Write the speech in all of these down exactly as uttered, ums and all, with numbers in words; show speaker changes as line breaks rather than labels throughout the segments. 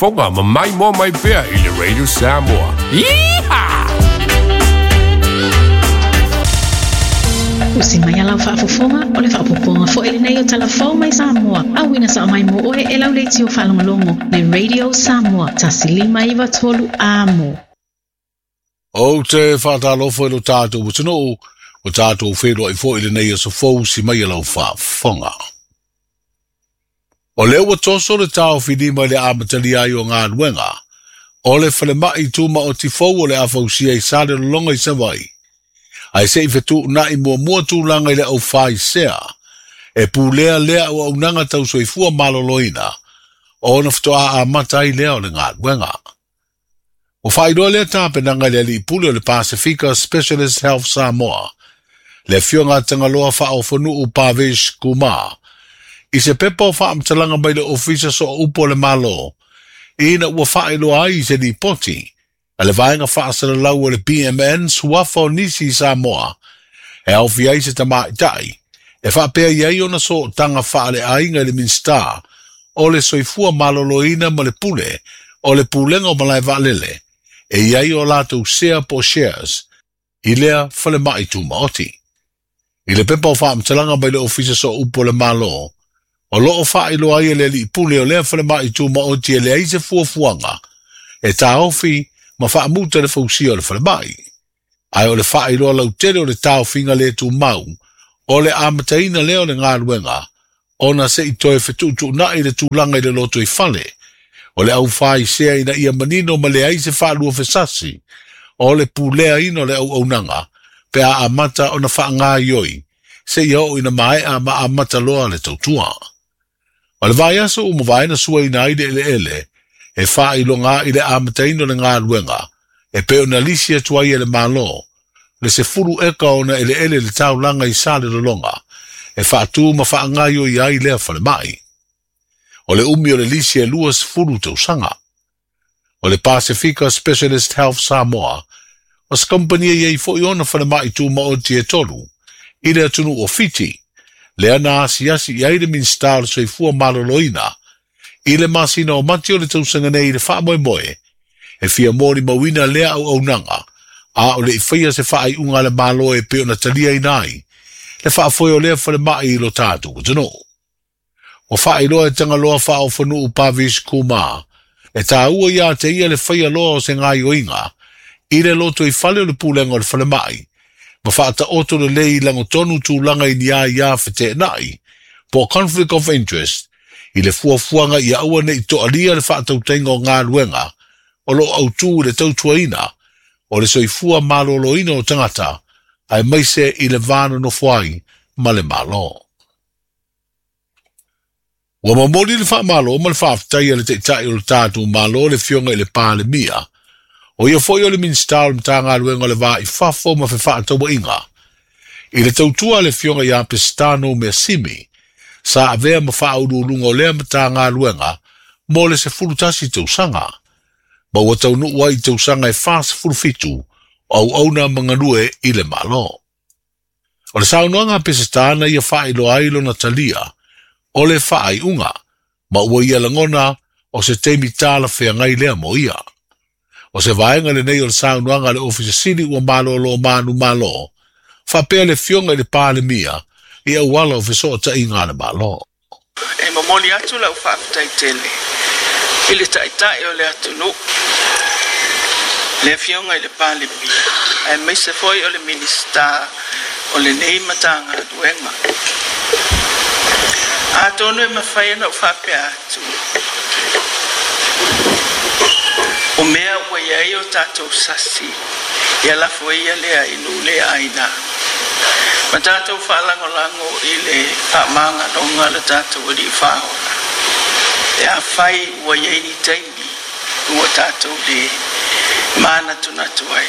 Foga ma mai mo mai pea i le Radio Samoa. Iha!
Usi mai alau faafofoga o le faapopoga foi lenei o talafou mai Samoa. Auina sa mai mo oe e lau leitio faalogologo le Radio Samoa tasi lima iva tolu amo.
Ou te whaatalofo e lo tātou atunuu, o tātou whenua i fo i lenei aso fou si mai alau faafofoga. O lea ua toso le taofilima i le amatalia ai o galuega, o le falemai tumaoti fou o le afausia i Salelologa i Savaii, ae se'i fetu'una'i muamua tulaga i le aufaisea, e pulea lea auaunaga tausoifua malōlōina, ona fatoā amata ai lea o le galuega. Ua faailoa lea tapenaga i le alii pule o le Pasifika Specialist Health Samoa, le afioga a Tagaloa faaofonu'u Pavesh Kumar, i se pepa o faamatalaga mai le ofisa sooupu o le Malo, ina ua faailoa ai i se lipoti a le vaega faasalalau o le B M N suafa o nisi i Samoa, e aofia ai se tamaʻitaʻi, e faapea i ai ona sootaga faaleaiga i le Minisita o le Soifua Malōlōina ma le pule o le pulega o malae vaalele, e i ai o latou sea po shares i lea falemai tumaoti. I le pepa o faamatalaga mai le ofisa sooupu o le Malo, o loo faailoa ai e le alii pule o lea falemai tumaoti e leai se fuafuaga, e taofi ma faamuta le fausia o le falemai. Ae o le faailoa lautele o le taofiga le tumau, o le amataina lea o le galuega, ona se'i toe fetu'utu'una'i le tulaga i le loto i fale, o le aufaisea ina ia manino ma leai se faalua fesasi, o le puleaina o le auaunaga, pe a amata ona faagaioi, seia oo ina maea ma amata loa le tautua. O le vaiaso ua mavae na suaina ai le eleele, e faailoga i le amataina o le galuega, e pei ona lisi atu ai e le Malo, le sefulu eka ona eleele le taulaga i Salelologa, e faatū ma faagaioi ai lea falemai. O le umi o le lisi e lua sefulu tausaga. O le Pasifika Specialist Health Samoa, o se kampani e iai fo'i ona falemai tumaoti e tolu, i le atunuu o Fiti, lea na asiasi i ai le Minisita o le Soifua Malōlōina, i le masina o Mati o le tausaga nei i le faamoemoe, e fia molimauina lea auaunaga, a o le i faia se faaiuga a le Malo e pei ona taliaina ai, le faafoe o lea falemai i lo tatou atunuu. Ua faailoa e Tagaloa faaofonu'u Pavesh Kumar, e tāua iā te ia le faia loa o se gaioiga, i le loto i fale o le pulega o le falemai, ma faataoto lelei i lagotonu tulaga i ni aiā feteena'i, po conflict of interest, i le fuafuaga ia aua ne'i to'alia le faatautaiga o galuega, o loo autū i le tautuaina, o le soifua malōlōina o tagata, aemaise i le va nonofo ai ma le Malo. Ua momoli le faamalo ma le faafetai a le taʻitaʻi o le tatou Malo le afioga i le Palemia, o ia fo'i o le Minisita o le Matagaluega o le Va i Fafo ma Fefaatauaʻiga, i le tautua a le afioga iā Pesitano Measimi, sa avea ma faauluuluga o lea Matagaluega mo le sefulu tasi tausaga, ma ua taunuu ai i tausaga e fasefulu fitu o auauna ma galue i le Malo. O le saunoaga a Pesitana ia faailoa ai lona talia, o le faaiuga, ma ua ia lagona o se taimi talafeagai lea mo ia. O se vaega lenei o le saunoaga a le Ofisa Sili ua malōlō manumalo, faapea le afioga i le Palemia i auala o feso'ota'iga a le Malo.
E momoli atu lau faafetai tele i le taʻitaʻi o le atunuu, le afioga i le Palemia, aemaise foi o le Minisita o lenei Matagaluega. Atonu e mafai ona ou faapea atu, o mea ua iai o tatou sasi, ia lafo ia lea i nuu le aina. Ma tatou faalagolago i le faamagaloga le tatou alii faaola. E afai ua iai ni taimi ua tatou le manatunatu ai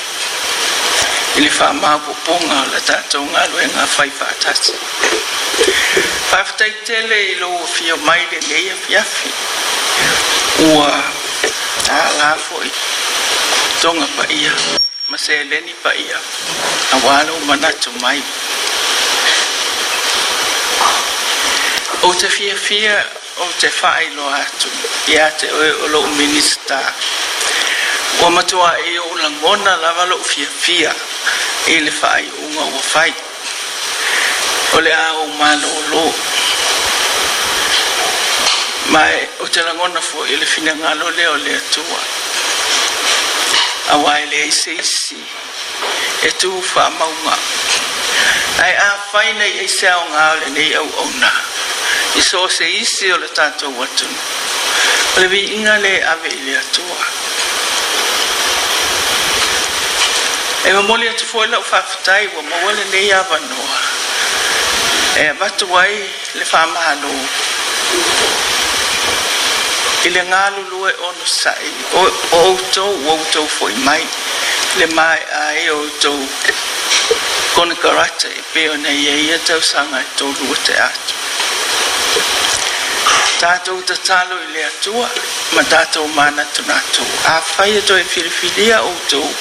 i le faamaopoopoga o le tatou galuega fai faatasi. Faafetai tele i lou afio mai lenei afiafi, ua tālā foi toga paia ma seleni paia auā lou manatu mai. Ou te fiafia Ou te faailoa atu ia te oe o lou Minisita, ua matuai ou lagona lava lou fiafia i le faaiuga ua fai. O le a ou malōlō. Ma ou te lagona foi i le finagalo lea o le Atua. Auā e leai se isi e tu faamauga. Ae afai na i ai se aoga o lenei auauna i so o se isi o le tatou atunuu, o le viiga lea e ave i le Atua. E momoli atu foi lau faafetai ua maua lenei avanoa e avatu ai le faamalo i le galulue onosai o outou ua outou foi mai le maea ai o outou konekarate e pei ona i ai ia tausaga e tolu ua tea atu. Tatou tatalo i le Atua ma tatou manatunatu. Afai e toe filifilia outou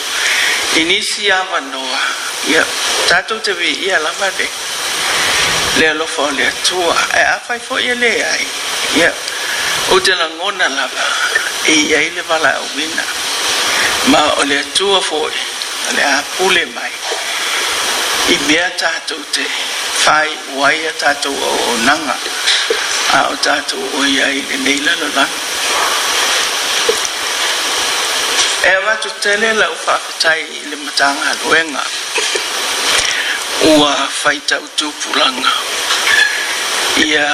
i nisi avanoa, ia tatou te viia lava le le alofa o le Atua. Ae afai foi e leai, ia ou te lagona lava e i ai le valaauina. Ma o le Atua foi o le a pule mai i mea tatou te faaiu ai a tatou auaunaga a o tatou o i ai i lenei lalolagi. E avatu tele lau faafetai i le Matagaluega ua faitau tupulaga ia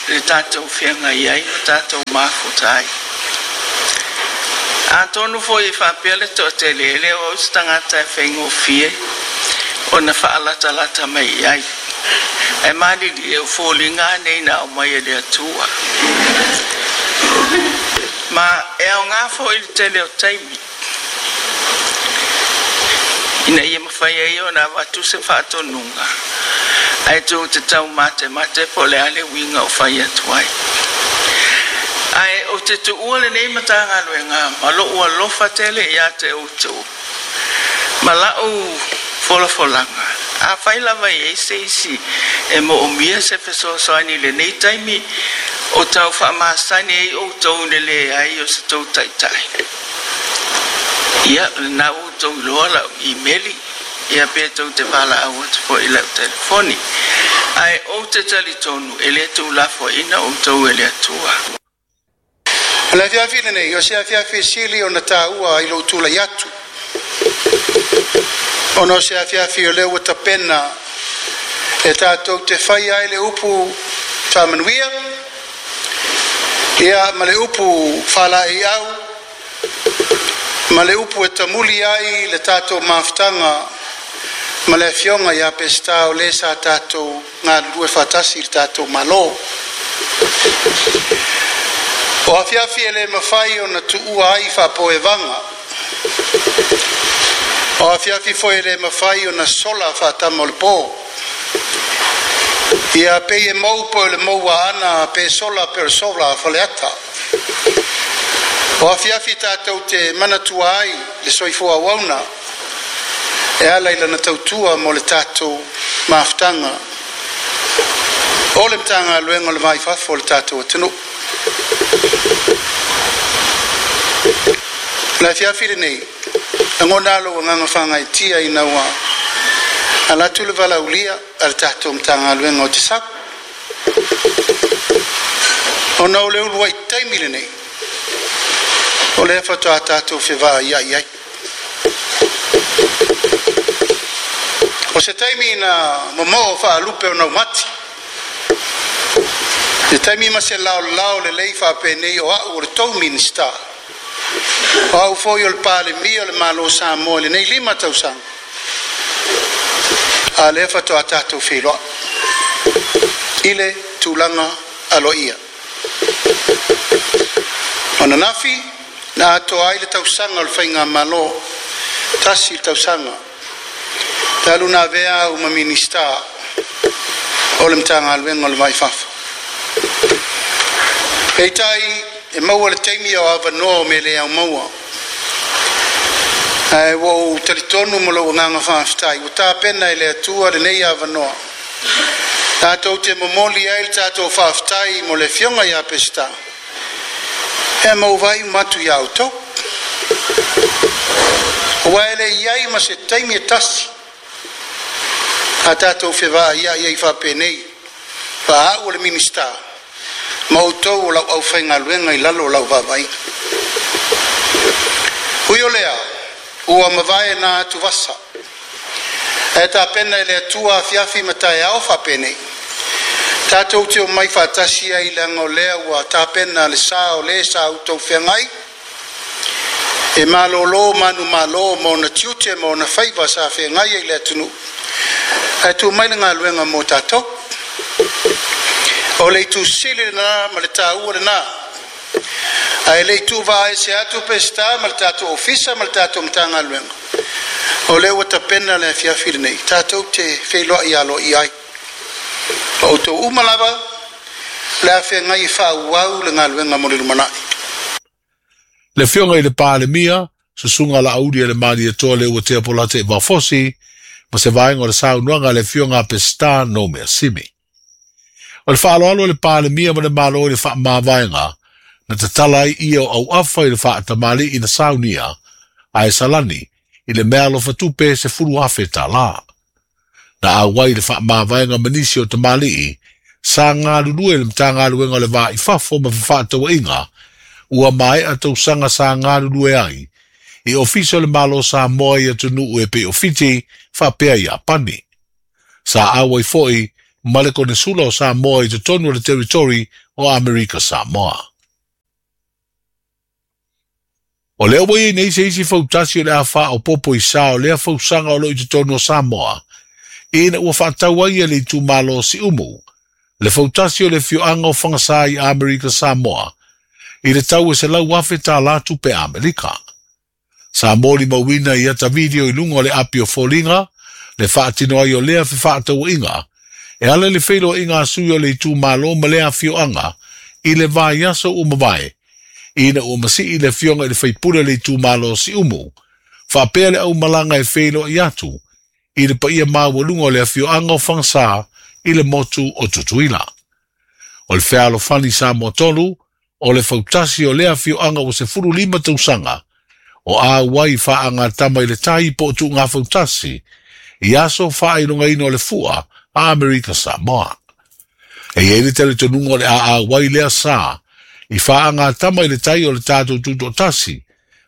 le tatou feagai ai ma tatou mafuta ai. Atonu foi e faapea le toatele e le o au se tagata e faigofie ona faalatalata mai i ai. Ae malilie o foliga nei na aumai e le Atua. Ma e aoga foi le tele o taimi ina ia mafai ai ona avatu se faatonuga ae tou te taumatemate po o le a le uiga o fai atu ai. Ae ou te tuua lenei Matagaluega ma lou alofa tele ia te outou ma lau folafolaga. Afai lava e i ai se isi e moomia se fesoasoani i lenei taimi o tau faamasani ai outou i le leai o se tou taitai, ia lena ua outou iloa lau imeli, ia pe tou te valaau atu foi i lau telefoni. Ae ou te talitonu e le tuulafoaiina outou e le Atua.
O le afiafi lenei, o se afiafi e sili ona taua i lou tulai atu, ona o se afiafi o lea ua tapena e tatou te faia ai le upu faamanuia, ia ma le upu faalaeiau, ma le upu e tamuli ai le tatou mafutaga ma le afioga ia Peseta o le sa tatou galulue faatasi i le tatou Malo. O afiafi e le mafai ona tuua ai faapoevaga, o afiafi foi e le mafai ona sola faatama o le po. Ia pei e mou po o le moua ana pe sola pe o le sola a Faleata. O afiafi tatou te manatua ai le soifua auauna e ala i lana tautua mo le tatou mafutaga o le Matagaluega o le Va i Fafo o le tatou atunuu. O le afiafi lenei, lagona lou agaga faagaeetia ina ua ala atu le valaaulia a le tatou Matagaluega o te sau. Ona o le uluai taimi lenei, o lea faatoa tatou fevaaiai ai. O se taimi na momoo faalupe o naumati, se taimi ma se laolao lelei faapenei o au o le tou Minisita, o au foi o le Palemia o le Malo o Samoa i lenei lima tausaga, a lea faatoa tatou feiloai i le tulaga aloaia. O ananafi na atoa ai le tausaga o le faigamalo, tasi le tausaga talu na avea au ma Minisita o le Matagaluega o le Va i Fafo. Peitai e maua le taimi o avanoa o mea le au maua, ae ua ou talitonu ma lou agaga faafetai ua tapena e le Atua lenei avanoa Tatou te momoli ai le tatou faafetai mo le afioga ia Peseta e mauvai matu ia outou. Ua e le iai ma se taimi e tasi a tatou fevaai ia i faapenei faaau o le Minista ma outou o lau aufaigaluega i lalo o lau vaavaaiga. Ui o lea, ua mavae na atuvasa ae tapena e le Atua afiafi ma taeao faapenei tatou te omai faatasi ai leaga o lea ua tapena le sa o le sa outou feagai e malōlō manumalo ma ona tiute ma ona faiva sa feagai ai le atunuu ae tuu mai le galuega mo tatou. O le itu sili lenā ma le taua lenā ae le i tuuvaese atu Peseta ma le tatou ofisa ma le tatou Matagaluega o lea ua tapena le afiafi lenei tatou te feiloai aloaia ai ma outou uma lava le afeagai e faaauau le galuega mo le lumanai.
Le afioga i le Palemia, Susuga Laauli e le Malietoa Leuatea Polataivao Fosi, ma se vaega o le saunoaga a le afioga a Peseta Nomea Simi. O le faaaloalo o le Palemia ma le Malo i le faamavaega, na tatala ai ia o auafa i le faatamalii na saunia, ae salani i le meaalofa tupe sefulu afe tālā. Na auai le faamavaega ma nisi o tamalii, sa galulue i le Matagaluega o le Va i Fafo ma Fefaatauaiga, ua maea tausaga sa galulue ai, i ofisa o le Malo Samoa i atunuu e pei o Fiti faapea Iapani. Sa auai foi ma le Konesula o Samoa i totonu o le Territory o Amerika Samoa. O lea ua iai nei se isi fautasi o le a faaopoopo i sa o lea fausaga o lo o i totonu o Samoa, ina ua faatau ai e le itumalo o Siumu le fautasi o le afioaga o Fagasā i Amerika Samoa i le tau e selau afe tālā tupe Amerika. Sa molimauina i ata video i luga o le api o Foliga le faatino ai o lea fefaatauaiga e ala i le feiloaiga a sui o le itumalo ma lea afioaga i le vaiaso ua mavae, ina ua masii le afioga i le faipule o le itumalo o Siumu faapea le aumalaga e feiloai atu i le paia maualuga o le afioaga o Fagasā i le motu o Tutuila. O le fealofani Samoa tolu, o le fautasi o lea afioaga ua sefulu lima tausaga o auai faagatama i le tai po o tuugafautasi i aso faailogaina o le fua a Amerika Samoa. E i ai le talitonuga o le a auai lea sa i faagatama i le tai o le tatou tutoatasi,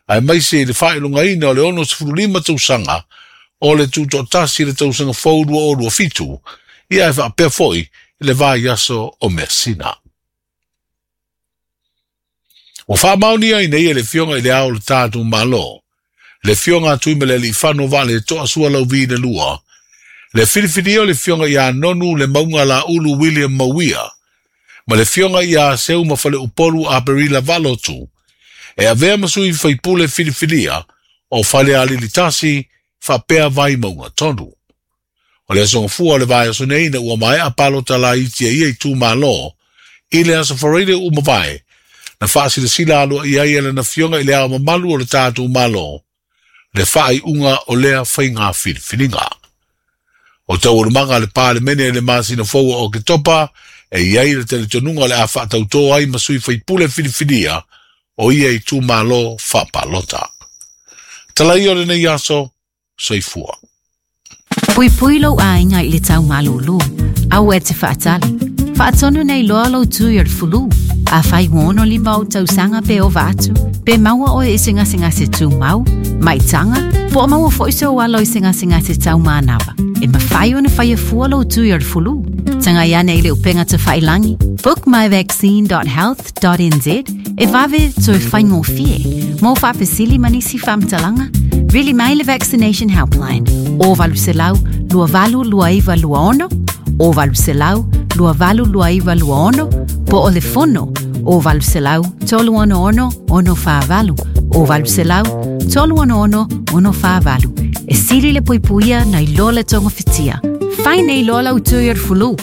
aemaise i le faailogaina o le ono sefulu lima tausaga o le tutoatasi i le tausaga fou lua o lua fitu, ia e faapea foi i le vaiaso o Measina. Ua faamaonia ai nei e le Afioga i le Ao o le tatou Malo, le Afioga a Tuimalealiifano Vaaletoa Sualauvi le Lua, le filifilia o le Afioga ia Nonu le Mauga Laulu William Mauia, ma le Afioga ia Seuimafaleupolu Aperila Valotu, e avea ma sui faipule filifilia o Falealili tasi faapea Vaimauga tolu. O le aso Gafua o le vaiaso nei ina ua maea palota laiti a ia itumalo i le aso Faraile ua mavae, na faasilasila aloaia ai e lana Afioga i le Ao Mamalu o le tatou Malo le faaiuga o lea faiga filifiliga. O taualumaga a le Palemene i le masina fou o Oketopa e i ai le talitonuga o le a faatautō ai ma sui faipule filifilia o ia itumalo faapalota. Tala ia o lenei aso, soifua.
Puipui lou aiga i le tau malūlū. Aua e te faatali. Faatonu nei loa lou tui o le fulu. Afai ua ono lima ou tausaga pe ova atu, pe maua oe i se gasegase tumau, maitaga, po o maua foi sou alo i se gasegase taumanava, e mafai ona faia fua lou tui o le fulu. Tagai ane i le upega tafailagi bookmyvaccine dot health dot n z e vave toe faigofie. Mo faafesili ma nisi faamatalaga, vili mai le Vaccination Helpline o valu selau lua valu lua iva lua ono, o valu selau lua valu lua iva lua ono, po o le fono o valu selau tolu ono ono ono fa valu, o valu selau tolu ono ono ono fa valu. E sili le puipuia nai lo le tongo fitia. Fai nei loa lau tui o le fulu.